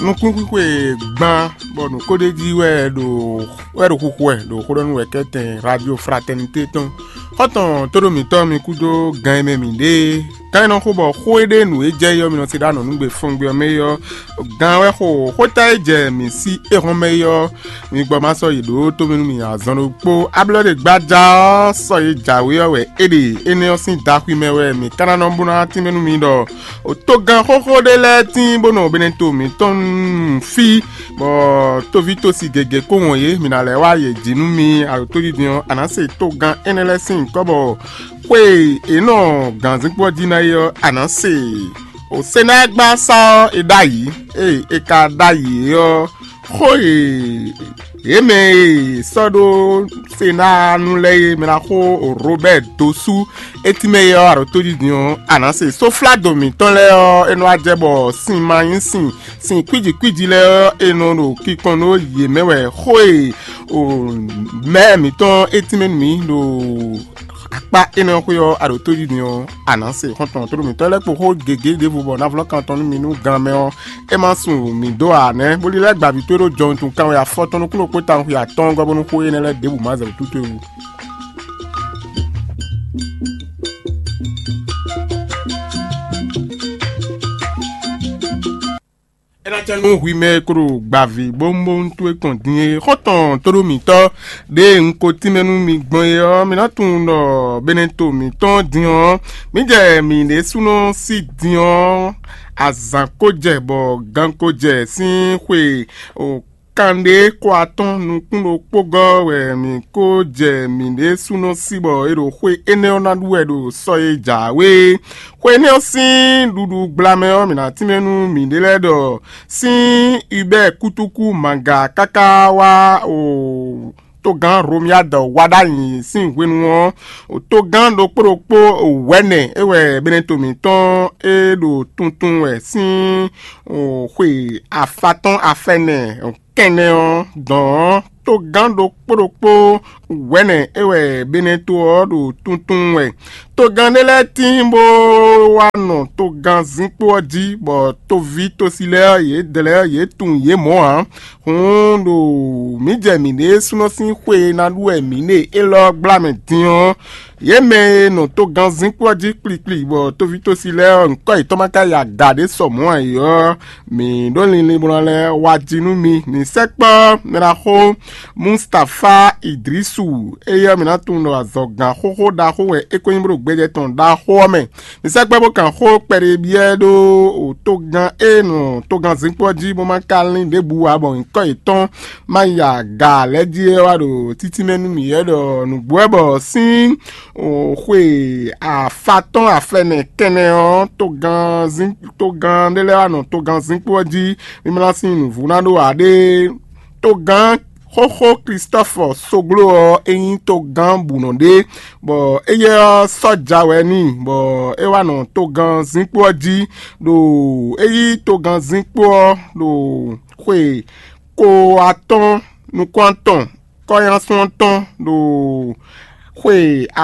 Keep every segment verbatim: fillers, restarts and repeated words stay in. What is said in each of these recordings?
Nukúnxwixwe gban bɔ nǔ ko ɖ'é jí wɛ ɖo wɛ ɖo xuxu wɛ ɖo xó ɖɔ nú wɛ̌kɛ́tɛn Radio Fraternité tɔn. Xɔ́ntɔn tóɖó mǐtɔn mi kúdó gan e mɛ mǐ ɖe é. Gán e nɔ xo bɔ xó e ɖe nǔ e jɛ é ɔ́, mi nɔ se ɖó anɔ̌nugbe fɔngbe ɔ́ mɛ é ɔ́, gán wɛ xo xóta e jɛ mǐ sí éhɔ́n mɛ é ɔ́, mi gbɔ ma sɔ́ yi ɖǒ tómɛ nú mì azɔn ɖokpó. Ablɔ́ɖegbaja ɔ́, sɔ́ e jǎwe ɔ́ wɛ é ɖe; énɛ́ ɔ́ sín daxwi mɛ wɛ mǐ ka ná nɔ bó ná tínmɛ nú mi ɖɔ togán xóxó ɖé lɛ́ɛ tíin bó nɔ Beneto mǐtɔn fí, bɔ tóví tósi gěgé kó wɔn yě, mǐ ná lɛ́ wá yě jí nú mi. Aɖǒtójijɛ ɔ́, a nǎ se togán énɛ́ lɛ́ɛ sín nyǐkɔ bɔ xwe e è nɔ gǎnzínkpo ɔ́ jí ná é ɔ́, a nǎ se. Osenágbasá ɔ́, è ɖ'ayǐ. Ée è ka ɖ'ayǐ é ɔ́, xó e yě mɛ e sɔ́ ɖó Senáa nu lɛ́ɛ é mɛ ná xó Robɛ́ɛ dó sú é tínmɛ é ɔ́, aɖǒtójijɛ ɔ́, a nǎ se. Sofládo mǐtɔn lɛ́ɛ ɔ́, é nɔ wá jɛ bɔ sin ma nyí sin, sin kwíji kwíji lɛ́ɛ ɔ́, è nɔ ɖo kinkɔn nú yě mɛ wɛ. Xó e mɛ̌ mǐtɔn é tínmɛ nú mǐ ɖo akpá énɛ́ ɔ́ xwé ɔ́, a ɖo tójijɛ ɔ́, a nǎ se. Xɔ́ntɔn tóɖó mǐtɔn lɛ́ɛ kpo xó gěgé ɖěvo bɔ ná vlɔ́ kan tɔn nú mi nú gan mɛ ɔ́, é má sun mǐ dó ǎ nɛ́, bó lílɛ́ gbǎví towe ɖó jɔwun tun kanwe afɔtɔn nukúnɖokpó tawun xwe atɔ́ɔ́ngɔ́ bónú xó énɛ́ lɛ́ɛ ɖěbǔ má zɛ wǔtú towe wú. É ná cɛ nú hwi mɛ e ko ɖo gbǎví bónbónú towe kɔn din é. Xɔ́ntɔn tóɖó mǐtɔn ɖěe un ko tínmɛ nú mi gbɔn é ɔ́, mi ná tunwun ɖɔ Beneto mǐtɔn din ɔ́, mǐ jɛ mǐ ɖésúnɔ sí din ɔ́, azǎn ko jɛ bɔ gan ko jɛ sín xwe kanɖé ko atɔ́ɔ́n nukún ɖokpó gɔ́ wɛ mǐ ko jɛ mǐ ɖésúnɔ sí bɔ è ɖo xwe énɛ́ ɔ́ ná ɖu wɛ ɖo sɔ e jǎwe é. Xwe énɛ́ ɔ́ sín ɖuɖu gblamɛ ɔ́, mǐ ná tínmɛ nú mǐɖée lɛ́ɛ ɖɔ sín Ubɛ́ɛ kútúkú Maga káká wá o togán Romiyád wá ɖ'ayǐ sín hwenu ɔ́, togán ɖokpó ɖokpó wɛ̌nɛ é wɛ Beneto mǐtɔn e ɖo tuntun wɛ sín xwe afatɔ́n afɛnɛ kɛnɛ ɔ́ dɔn ɔ́, togán ɖokpó ɖokpó wɛ̌nɛ é wɛ Beneto ɔ́ ɖo tuntun wɛ. Togán ɖé lɛ́ɛ tíin bó wá nɔ togán zínkpo ɔ́ jí, bɔ toví tosi lɛ́ɛ ɔ́, yě dlɛ́ ɔ́, yě tunwun yě mɔ̌ ǎ. Hǔn ɖo mǐ jɛ mǐɖée súnɔ sín xwe e ná ɖu wɛ mǐ ɖe élɔ́ gbla mɛ din ɔ́, yě mɛ e nɔ togán zínkpo ɔ́ jí kplikpli, bɔ toví tosi lɛ́ɛ ɔ́, nyǐkɔ yětɔn ma ka yi aga ɖě sɔ mɔ̌ ǎ é ɔ́, mǐ ɖó linlin bó ná lɛ́ wá jí nú mi. Mǐ sɛkpɔ́ mɛɖaxó Mustafá Idrisu, éyɛ́ mǐ ná tunwun ɖɔ azɔ̌gán xóxó ɖaxó wɛ é ko nyí bó ɖo gbɛjɛ tɔn ɖaxó ɔ́ mɛ. Mǐ sɛkpɔ́ bó kan xó kpɛɖé byɔ́ ɛ ɖó togán e nɔ togán zínkpo ɔ́ jí bó ma ka lín ɖěbǔ ǎ, bɔ nyǐkɔ yětɔn ma yi aga lɛ́ɛ jí é wá ɖo títí mɛ nú mǐ wɛ ɖɔ nǔgbó wɛ bɔ sín xwe afátɔ́n afɛnɛ kɛnɛ ɔ́, togán ɖé lɛ́ɛ wá nɔ togán zínkpo ɔ́ jí, mí ma ná sín nǔvú ná ɖó ǎ ɖé. Togán xóxó Klistɔ́fɔ Sogló ɔ́, é nyí togán bǔnɔ ɖé, bɔ éyɛ́ ɔ́ sɔ́ja wɛ n'i, bɔ é wá nɔ togán zínkpo ɔ́ jí, ɖo é yí togán zínkpo ɔ́ ɖo xwe ko atɔ́ɔ́n nukún atɔn kɔ́nyásun ɔ́ tɔn ɖo xwe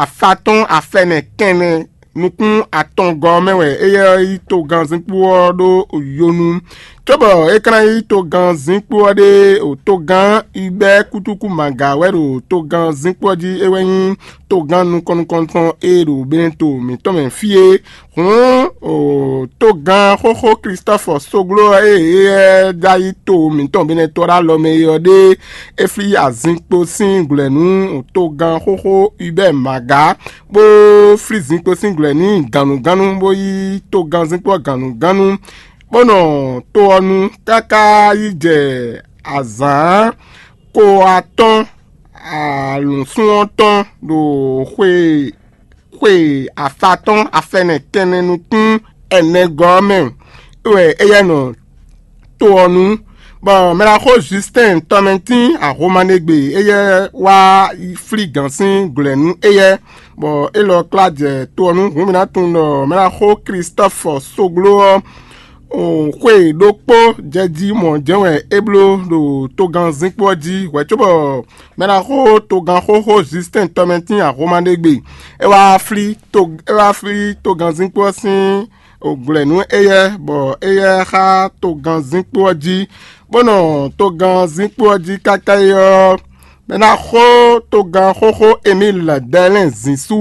afátɔ́n afɛnɛ kɛnɛ nukún atɔngɔ́ ɔ́ mɛ wɛ éyɛ́ ɔ́ yí togán zínkpo ɔ́ ɖó yonu, cóbɔ é ka ná yí togán zínkpo ɔ́ ɖe o togán Ibɛ́ kútúkú Maga wɛ ɖo togán zínkpo ɔ́ jí, é wɛ nyí togán nukɔn nukɔntɔn e ɖo Beneto mǐtɔn mɛ fí é. Hǔn o togán xóxó Klistɔ́fɔ Sogló ɔ́ e éyɛ́ já yí to mǐtɔn Beneto ɖó alɔ mɛ é ɔ́ ɖe, é flí azinkpo sín glɔ̌ nú togán xóxó Ibɛ́ Maga, bó flí zinkpo sín glɔ̌ n'i gǎnnugánnu, bó yí togán zinkpo ɔ́ gǎnnugánnu, bó nɔ to ɔ́ nu káká yi jɛ azǎn ko atɔ́ɔ́n alǔnsún ɔ́ tɔn ɖo xwe xwe afatɔ́n afɛnɛ kɛnɛ nukún ɛnɛgɔ́ ɔ́ mɛ wɛ éyɛ́ nɔ to ɔ́ nu, bɔ mɛɖaxó Justin Tɔmɛtín Ahomaɖegbe éyɛ́ wá flí gǎn sín glɔ̌ nú éyɛ́, bɔ élɔ́ kplá jɛ to ɔ́ nu. Hǔn mǐ ná tunwun ɖɔ mɛɖaxó Klistɔ́fɔ Sogló ɔ́, xwe ɖokpó jɛ jí mɔ̌ jɛ́n wɛ é bló ɖo togán zínkpo ɔ́ jí hwɛ̌ cóbɔ mɛɖaxó togán xóxó Justin Tɔmɛtín Ahomaɖegbe é wá flí to é wá flí togán zínkpo ɔ́ sín òglɛ̌nú éyɛ́, bɔ éyɛ́ xá togannzínkpo ɔ́ jí, bó nɔ togannzínkpo ɔ́ jí káká é ɔ́, mɛ ná xó togán xóxó Emíl Dɛlɛ́n zǐn sú,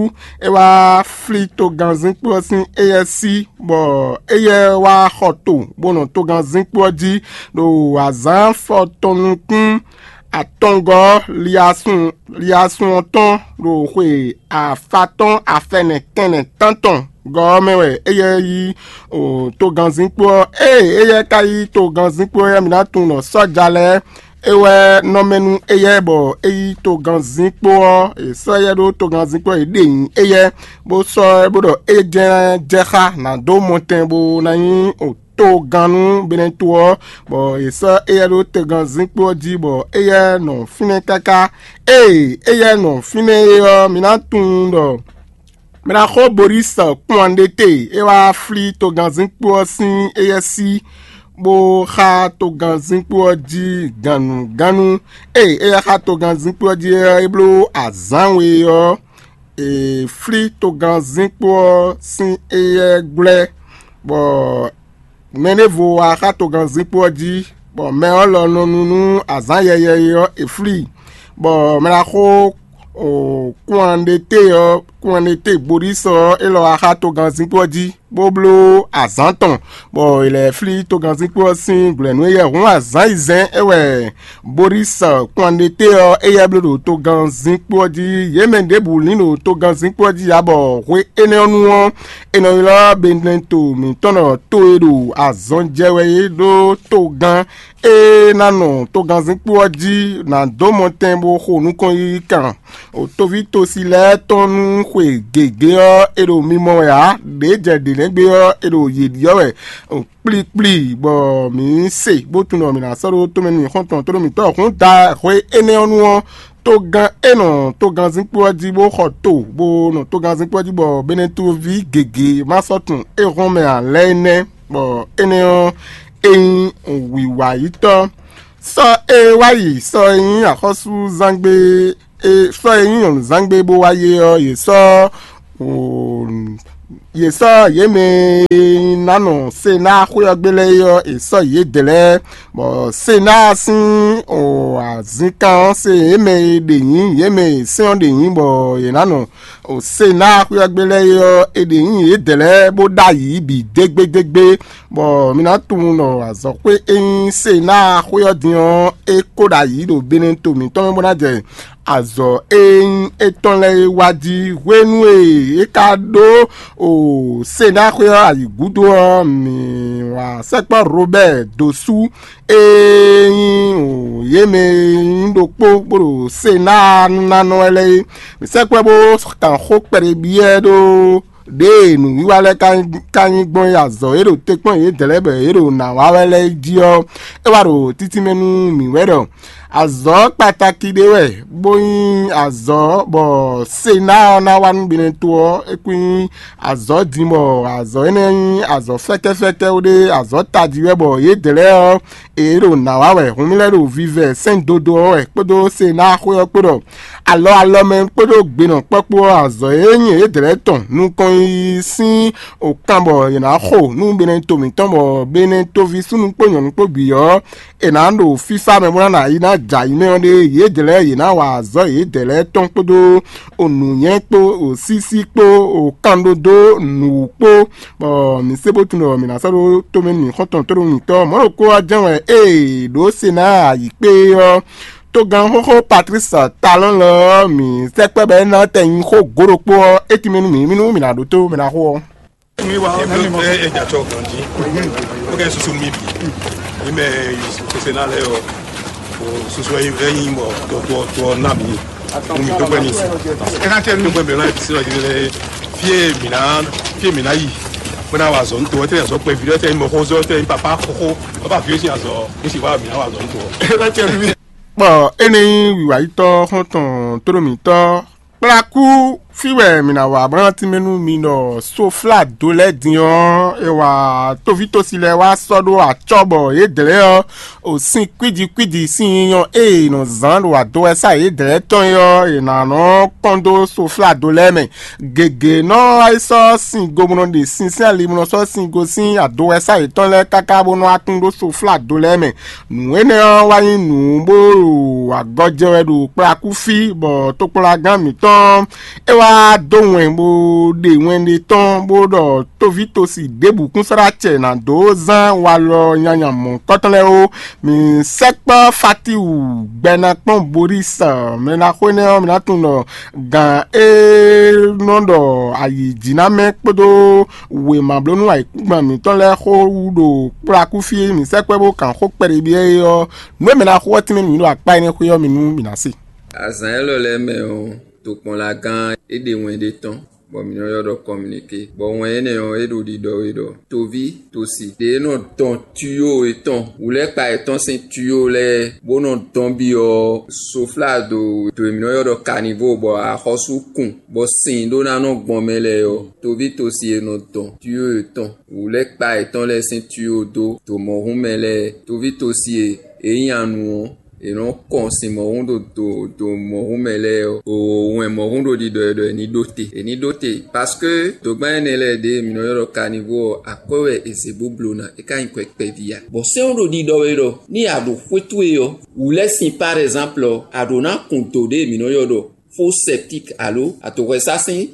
é wá flí togannzínkpo ɔ́ sín éyɛ́ sí, bɔ éyɛ́ wá xɔ to, bó nɔ togannzínkpo ɔ́ jí ɖo azǎn afɔtɔn nukún atɔngɔ́ liasun liasun ɔ́ tɔn ɖo xwe afatɔ́n afɛnɛ kɛnɛ tántɔn gɔ́ ɔ́ mɛ wɛ éyɛ́ yí togannzínkpo ɔ́. Ée éyɛ́ ka yí togannzínkpo ɔ́, mi ná tunwun ɖɔ sɔ́ja lɛ́ɛ é wɛ nɔ mɛ nú éyɛ́ bɔ é yí togannzínkpo ɔ́. È sɔ́ éyɛ́ ɖó togannzínkpo ɔ́, è ɖe nyi éyɛ́, bó sɔ́ ɛ bó ɖɔ é jɛ́n jɛ xá nǎ dó mɔtɛn bó ná nyí togán nú Benɛto ɔ́, bɔ è sɔ́ éyɛ́ ɖó togannzínkpo ɔ́ jí, bɔ éyɛ́ nɔ fínɛ́ káká. Ée éyɛ́ nɔ fínɛ́ é ɔ́, mi ná tunwun ɖɔ mɛ ná xó Borísi kplɔ́nɖéte é wá flí togannzínkpo ɔ́ sín éyɛ́ sí, bó xá togannzínkpo ɔ́ jí gannugánnu. Ée éyɛ́ xá togannzínkpo ɔ́ jí ɔ́, é bló azǎn we ɔ́, è flí togannzínkpo ɔ́ sín éyɛ́ gwlɛ́, bɔ mɛ ɖěvo wá xá togannzínkpo ɔ́ jí, bɔ mɛ ɔ́ lɔ nɔ nu nú azǎn yɛyɛ e ɔ́, è flí i, bɔ mɛ ná xó kúnwanɖéte ɔ́, kúnwanɖéte Borísi ɔ́, é lɔ wá xá togannzínkpo ɔ́ jí, bó bló azǎn tɔn, bɔ è lɛ́ flí togannzínkpo ɔ́ sín glɔ̌nu éyɛ́. Hǔn azǎn yizɛ́n é wɛ Borísi kplɔ́nɖéte ɔ́, éyɛ́ bló ɖo togannzínkpo ɔ́ jí. Yě mɛ ɖěbǔ lín ɖo togannzínkpo ɔ́ jí ǎ, bɔ hwe énɛ́ ɔ́ nu ɔ́, è nɔ ylɔ́ Benɛto mǐtɔn ɖɔ to e ɖo azɔn jɛ wɛ é ɖó togán e ná nɔ togannzínkpo ɔ́ jí ná dó mɔtɛn bó xo nukɔn yiyi kan. Toví tosi lɛ́ɛ tɔn nú xwe gěgé ɔ́, è ɖo mimɔ wɛ ǎ; ɖě jɛ ɖě nɛ́ gbe ɔ́, è ɖo yě ɖyɔ́ wɛ kplikpli, bɔ mǐ se bó tunwun ɖɔ mǐ ná sɔ́ ɖó tomɛ nú mǐ xɔ́ntɔn tónú mǐtɔn. Hǔn da hwe énɛ́ ɔ́ nu ɔ́, togán e nɔ togannzínkpo ɔ́ jí bó xɔ to, bó nɔ togannzínkpo ɔ́ jí, bɔ Benɛtoví gěgé ma sɔ́ tunwun é hɔn mɛ ǎ lɛ́ɛ é nɛ́, bɔ énɛ́ ɔ́, é nyí wǐwayítɔ́. Sɔ́ e wá yi sɔ́ e nyí axɔ́súzangbe e sɔ́ e nyí nyɔ̌nuzángbe bó wá yé ɔ́, yě sɔ́ yě sɔ́ yě mɛ e ná nɔ Senáa xwé ɔ́ gbe lɛ́ɛ é ɔ́, è sɔ́ yědɛɛ lɛ́ɛ, bɔ Senáa sín azǐnkan ɔ́ se yě mɛ e ɖe nyǐ, yě mɛ e sɛ́n ɔ́ ɖe nyǐ, bɔ yě ná nɔ Senáa xwé ɔ́ gbe lɛ́ɛ é ɔ́, è ɖe nyǐ yědɛɛ lɛ́ɛ bó ɖ'ayǐ bǐ dégbédégbé, bɔ mi ná tunwun ɖɔ azɔ̌xwé e nyí Senáa xwé ɔ́ din ɔ́, é ko ɖ'ayǐ ɖo Benɛto mǐtɔn mɛ bó ná jɛ azɔ̌ e nyí étɔn lɛ́ɛ é wá jí. Hwenu e é ka ɖó o Senáa xwé ɔ́ ayǐ gúdo ɔ́, mǐ wá sɛkpɔ́ Robɛ́ɛ dó sú e nyí o yě mɛ e nyí ɖokpó bó ɖo Senáa nunánɔ wɛ lɛ́ɛ é. Mǐ sɛkpɔ́ bó kan xó kpɛɖé byɔ́ ɛ ɖó ɖěe nǔwiwa lɛ́ɛ ka nyí gbɔn é, azɔ̌ e ɖo te kpɔ́n yědɛɛ lɛ́ɛ bɔ yě ɖo nǎ wa wɛ lɛ́ɛ jí ɔ́, é wá ɖo títínmɛ nú mǐ wɛ ɖɔ azɔ̌ kpataki ɖé wɛ, bó nyí azɔ̌ bɔ Senáa ɔ́ ná wa nú Benɛto ɔ́, é kún nyí azɔ̌ din, bɔ azɔ̌ énɛ́ nyí azɔ̌ fɛ́kɛ́fɛ́kɛ́ ɖé, azɔ̌ tají wɛ, bɔ yědɛɛ lɛ́ɛ ɔ́, è ɖo nǎ wa wɛ. Hǔn mì lɛ́ ɖo vivɛ sɛ́n dodo ɔ́ wɛ kpódó Senáa xwé ɔ́ kpó ɖɔ alɔ alɔ mɛ kpódó gbenɔ kpɔ́kpó ɔ́, azɔ̌ e nyí yědɛɛ tɔn nukɔn yiyi sín o kan bɔ è nǎ xo nú Benɛto mǐtɔn, bɔ Benɛtoví súnnu kpó nyɔ̌nu kpó bǐ ɔ́, è nǎ ɖo fífá mɛ bó ná yi ná jɛ ayi mɛ ɔ́ ɖe. Yědɛɛ yě ná wa azɔ̌ yědɛɛ tɔn kpódó o nǔnywɛ́ kpó o sísí kpó o kanɖódó nǔwú kpó, bɔ mǐ se bó tunwun ɖɔ mǐ ná sɔ́ ɖó tomɛ nú mǐ xɔ́ntɔn tóɖó mǐtɔn. Mɔ̌ ɖokpó ɔ́ jɛ́n wɛ ée ɖǒ se ná ayǐ kpé ɔ́, togán xóxó Patlísi Talɔ́n lɔ ɔ́, mǐ sɛkpɛ́ bɔ é ná tɛ nyi xó gǒ ɖokpó ɔ́, é tínmɛ nú mǐ, mí nú mǐ ná ɖótó mɛ ná xó ɔ́. Mi wa ɔ nani mɔ. Ɛ ɛ dza tsɔ ganji. O kɛ susu mi bi. Mi mɛ susu se na lɛ ɔ. O susu ɛ yin bɔ tɔ tɔ tɔ na mi. Mo mi to gbɛ ni si. Ɛ na tɛ nu. To gbɛ mi na si lɔ yi lɛ. Fie mi na fie mi na yi. Mo na wa zɔ nto tɛ zɔ kpɛ vi tɛ mɔ xɔ zɔ tɛ papa xɔxɔ. Papa fi si azɔ. Mi si wa mi na wa zɔ nto. Ɛ na tɛ nu. Kpɔ ene yi wiwa yi tɔ xɔntɔn toro mi tɔ. Kplakú Fí wɛ mǐ ná wá blán tínmɛ nú mi ɖɔ soflado lɛ́ɛ din ɔ́, è wá tóvítósi lɛ́ɛ wá sɔ́ ɖó acɔ́ bɔ yě dlɛ́ ɔ́, o sin kwíji kwíji sín nyɔ e è nɔ zán ɖo adowɛsá yě dlɛ́ tɔn é ɔ́, è nǎ nɔ kɔn dó soflado lɛ́ɛ mɛ. Gěgé nɔ wá yi sɔ́ sin go bó nɔ ɖe sin sín ali bó nɔ sɔ́ sin go sín adowɛsá yětɔn lɛ́ɛ káká bó nɔ wá kún ɖó soflado lɛ́ɛ mɛ. Nǔ énɛ́ ɔ́ wá nyí nǔ bó ɖo agɔjɛ wɛ ɖo kplakúfí, bɔ tokpɔnlagán mǐtɔn é wá dó wɛn bó ɖe wɛn ɖé tɔn bó ɖɔ tóvítosi ɖěbǔ kún sɔ́ ɖó acɛ nǎ dó zán walɔ nyanya mɔ̌hunkɔtɔn lɛ́ɛ ó. Mǐ sɛkpɔ́ Fatiwu gbɛ́nakpɔ́n Boris mɛ ná xó énɛ́ ɔ́, mǐ ná tunwun ɖɔ gǎn e nɔ ɖɔ ayǐjínamɛ kpódó wěmablónú ayǐkúngban mǐtɔn lɛ́ɛ xó wú ɖo kplakúfí e mǐ sɛkpɔ́ bó kǎn xó kpɛɖé byɔ́ é ɔ́, nǔ e mɛ ná xo ɔ́ tínmɛ nǔ nyi ɖo akpá énɛ́ xwé ɔ́ mi nú mǐ ná se. Azǎn élɔ́ lɛ́ɛ mɛ ɔ́, tokpɔnlagán é ɖe wɛn ɖé tɔn, bɔ mǐ nɔ ylɔ́ ɖɔ kɔminiké, bɔ wɛn énɛ́ ɔ́, é ɖo ɖiɖɔ wɛ ɖɔ toví tosi ɖě nɔ dɔn tuyó yětɔn, wǔlɛ́kpa yětɔn sín tuyó lɛ́ɛ, bó nɔ dɔn byɔ́ soflado ɖo e mǐ nɔ ylɔ́ ɖɔ kanivo, bɔ axɔ́sú kun, bɔ sin ɖó ná nɔ gbɔn mɛ lɛ́ɛ ɔ́, toví tosi e nɔ dɔn tuyó yětɔn, wǔlɛ́kpa yětɔn lɛ́ɛ sín tuyó dó dǒ mɔ̌hún mɛ lɛ́ɛ, toví tosi e è nyí anu ɔ́, è nɔ kɔn sin mɔ̌hún ɖo do do mɔ̌hún mɛ lɛ́ɛ ɔ́, o wɛn mɔ̌hún ɖo ɖiɖɔ e ɖɔ è ní ɖó te, è ní ɖó te, parce que dǒgbán énɛ́ lɛ́ɛ ɖě mǐ nɔ ylɔ́ ɖɔ kanivo ɔ́, akwɛ́ wɛ è zě bó bló ná, é ka nyí kwɛ kpɛví ǎ. Bɔ sɛ́n ɔ́ ɖo ɖiɖɔ wɛ ɖɔ ní a ɖo xwé towe ɔ́, wǔ lɛ́ sin par exemple ɔ́, a ɖǒ ná kun do ɖě mǐ nɔ ylɔ́ ɖɔ faux septique alo adǒhwɛsá sín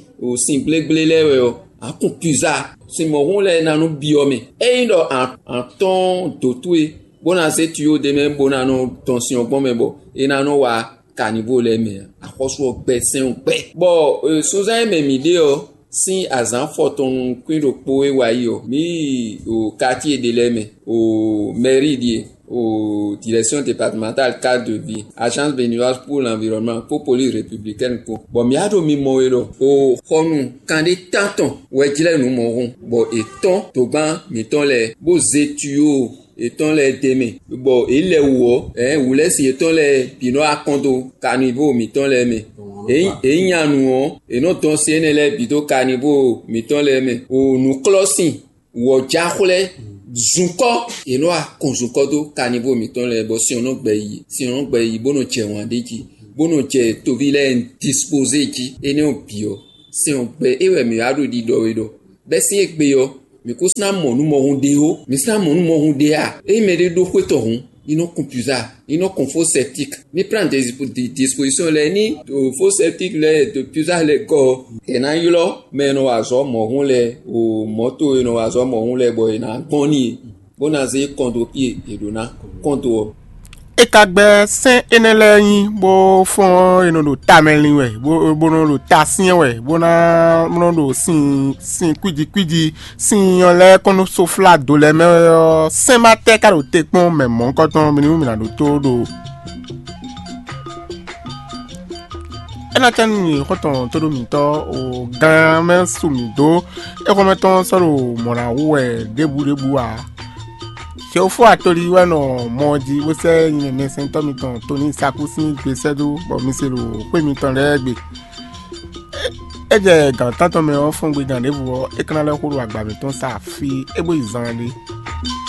sin gblégblé lɛ́ɛ wɛ ɔ́, a kun puza sin mɔ̌hún lɛ́ɛ ná nú byɔ́ mɛ. Ényí ɖɔ a tɔ́n dǒ towe bó ná zé tuyó ɖ'é mɛ bó ná nɔ dɔn sin ɔ́ gbɔn mɛ bɔ é ná nɔ wá kanivo lɛ́ɛ mɛ ǎ. Axɔ́sú ɔ́ gbɛ sɛ́n ɔ́ gbɛ. Bɔ sunzán e mɛ mǐ ɖe ɔ́ sín azǎn fɔtɔn nukún ɖokpó e wá yi ɔ́, mǐ yi ɖo katíe ɖé lɛ́ɛ mɛ, o mɛrí ɖíe, o direction départementale cadre de vie, agence béninoise pour l'environnement kpó police républicaine kpó. Bɔ mǐ wá ɖo mimɔ we ɖɔ o xɔnu kanɖé tántɔn wɛ jlɛ́ nǔ mɔ̌hun, bɔ è tɔ́n dǒgbán mǐtɔn lɛ́ɛ bó zé tuyó yětɔn lɛ́ɛ d'é mɛ, bɔ yě lɛ wǔ ɔ́, ɛ̌ wǔlɛ́si yětɔn lɛ́ɛ bǐ nɔ wá kɔn dó kanivo mǐtɔn lɛ́ɛ mɛ. È nyí anu ɔ́, è nɔ dɔn sin énɛ́ lɛ́ɛ bǐ dó kanivo mǐtɔn lɛ́ɛ mɛ. O nǔklɔ́sin wɔ̌jáxwlɛ́ zunkɔ́, è nɔ wá kɔn zunkɔ́ dó kanivo mǐtɔn lɛ́ɛ, bɔ sin ɔ́ nɔ gbɛ yi, sin ɔ́ nɔ gbɛ yi bó nɔ jɛ wǎn ɖé jí, bó nɔ jɛ toví lɛ́ɛ dispozé jí. Énɛ́ ɔ́ bǐ ɔ́, sɛn ɔ́ gbɛ é wɛ mǐ wá ɖo ɖiɖɔ we ɖɔ bɛ́ sín égbé ɔ́, mǐ kún ná mɔ nú mɔhun ɖé ó. Mǐ sɔ́ ná mɔ nú mɔhun ɖé a? Ényí mɛɖé ɖó xwé tɔn hǔn, ní nɔ kun puza, ní nɔ kun fó sɛptík, ní plán disposition lɛ́ɛ ní fó sɛptík lɛ́ɛ ɖo puza lɛ́ɛ gɔ́ ɔ́, è nǎ ylɔ́ mɛ e nɔ wa azɔ̌ mɔ̌hun lɛ́ɛ o mɔ̌to e nɔ wa azɔ̌ mɔ̌hun lɛ́ɛ bɔ è nǎ gbɔn n'i, bó ná zé kɔn dó fí e è ɖǒ ná kɔn dó ɔ́. É ka gbɛ́ sɛ́n énɛ́ lɛ́ɛ nyi, bó fɔ́n e nɔ ɖo tamɛ lin wɛ, bó bó nɔ ɖo ta syɛ́n wɛ, bó ná nɔ ɖo sin sin kwíji kwíji sin nyɔ lɛ́ɛ kɔn nú soflado lɛ́ɛ mɛ ɔ́, sɛ́n ma tɛ́ ka ɖo te kpɔ́n mɛ mɔ̌hunkɔtɔn mi nú mi ná ɖótó ɖo. É ná cɛ́ nú mi xɔ́ntɔn tóɖó mǐtɔn o gán mɛ su mǐ dó é xɔmɛ tɔn sɔ́ ɖo mɔ̌ ná wú wɛ ɖěbǔ ɖěbǔ ǎ. Xewfó atoli wɛ nɔ mɔ ɔ́ jí bó sɛ́ nyɛ mɛsɛntɔ́ mitɔn Toni Saku sín gbe sɛ́ dó bɔ mi se ɖo xwé mitɔn lɛ́ɛ gbe. É jɛ gǎn tántɔn mɛ ɔ́ fɔ́n gbe gǎn ɖěvo ɔ́, é ka ná lɛ́ xo ɖo agba mǐtɔn sa fí é bó yi zan ɖé.